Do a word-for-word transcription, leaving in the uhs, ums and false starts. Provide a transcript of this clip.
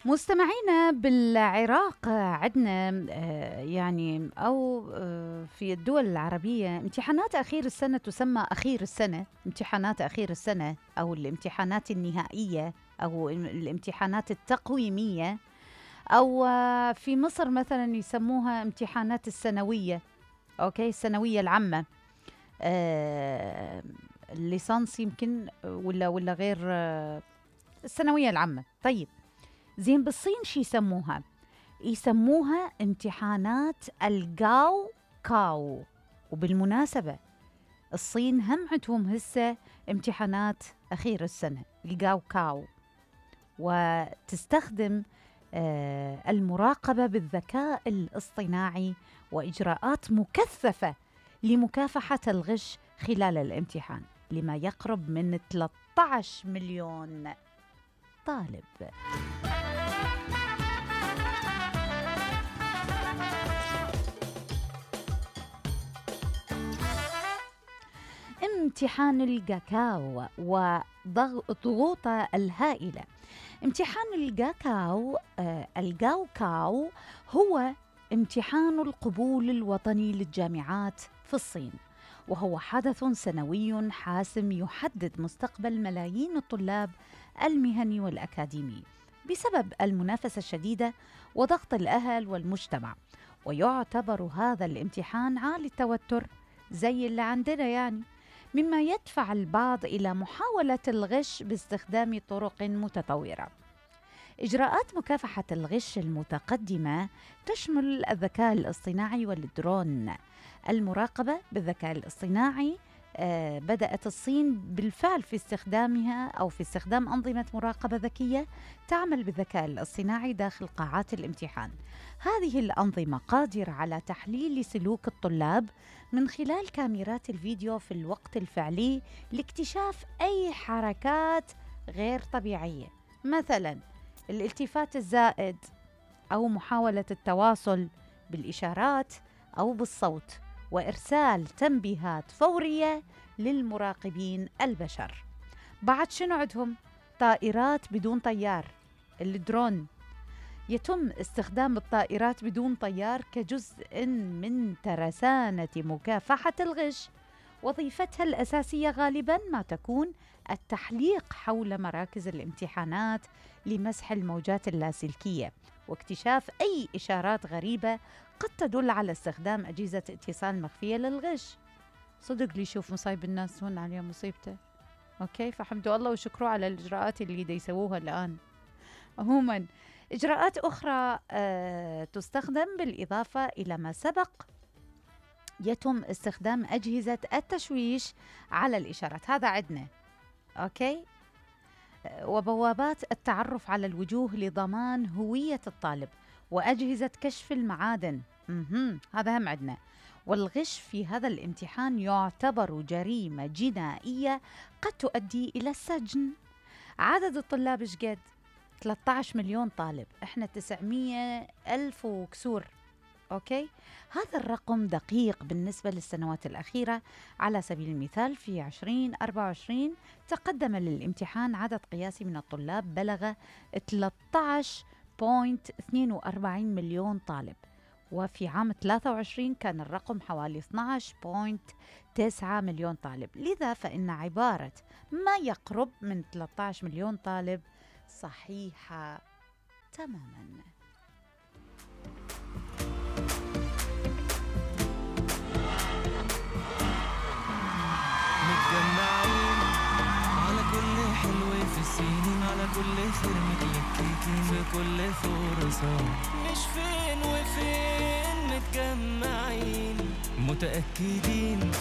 مستمعينا بالعراق عندنا يعني أو في الدول العربية امتحانات أخير السنة تسمى أخير السنة، امتحانات أخير السنة أو الامتحانات النهائية أو الامتحانات التقويمية، أو في مصر مثلا يسموها امتحانات السنوية، أوكي السنوية العامة، آه الليسانس يمكن ولا ولا غير آه الثانوية العامة. طيب زين بالصين شي يسموها؟ يسموها امتحانات الجاو كاو. وبالمناسبة الصين هم عندهم هسه امتحانات أخير السنة الجاو كاو، وتستخدم آه المراقبة بالذكاء الاصطناعي وإجراءات مكثفة لمكافحة الغش خلال الامتحان لما يقرب من ثلاثة عشر مليون طالب. امتحان الجاكاو وضغوطه الهائلة. امتحان الجاكاو آه الجاو كاو هو امتحان القبول الوطني للجامعات في الصين، وهو حدث سنوي حاسم يحدد مستقبل ملايين الطلاب المهني والأكاديمي بسبب المنافسة الشديدة وضغط الأهل والمجتمع. ويعتبر هذا الامتحان عالي التوتر زي اللي عندنا يعني، مما يدفع البعض إلى محاولة الغش باستخدام طرق متطورة. إجراءات مكافحة الغش المتقدمة تشمل الذكاء الاصطناعي والدرون. المراقبة بالذكاء الاصطناعي آه بدأت الصين بالفعل في استخدامها أو في استخدام أنظمة مراقبة ذكية تعمل بالذكاء الاصطناعي داخل قاعات الامتحان. هذه الأنظمة قادرة على تحليل سلوك الطلاب من خلال كاميرات الفيديو في الوقت الفعلي لاكتشاف أي حركات غير طبيعية، مثلاً الالتفات الزائد أو محاولة التواصل بالإشارات أو بالصوت، وإرسال تنبيهات فورية للمراقبين البشر. بعد شنو عندهم؟ طائرات بدون طيار، الدرون. يتم استخدام الطائرات بدون طيار كجزء من ترسانة مكافحة الغش. وظيفتها الأساسية غالباً ما تكون التحليق حول مراكز الامتحانات لمسح الموجات اللاسلكية واكتشاف أي إشارات غريبة قد تدل على استخدام أجهزة اتصال مخفية للغش. صدق لي شوف مصايب الناس هون عليها مصيبته. أوكي، فحمدوا الله وشكروا على الإجراءات اللي دا يسووها الآن. عموماً إجراءات أخرى آه تستخدم بالإضافة إلى ما سبق، يتم استخدام أجهزة التشويش على الإشارات، هذا عندنا أوكي، وبوابات التعرف على الوجوه لضمان هوية الطالب، وأجهزة كشف المعادن، مهم. هذا هم عندنا. والغش في هذا الامتحان يعتبر جريمة جنائية قد تؤدي إلى السجن. عدد الطلاب ايش قد؟ ثلاثة عشر مليون طالب، احنا تسعمية ألف وكسور. أوكي، هذا الرقم دقيق بالنسبة للسنوات الأخيرة. على سبيل المثال في عشرين أربعة وعشرين تقدم للامتحان عدد قياسي من الطلاب بلغ ثلاثة عشر فاصلة اثنين وأربعين مليون طالب، وفي عام ثلاثة وعشرين كان الرقم حوالي اثني عشر فاصلة تسعة مليون طالب. لذا فإن عبارة ما يقرب من ثلاثة عشر مليون طالب صحيحة تماماً. متجمعين على كل حلو في السنين، على كل خير متلككين في كل فرصة، مش فين وفين متجمعين متأكدين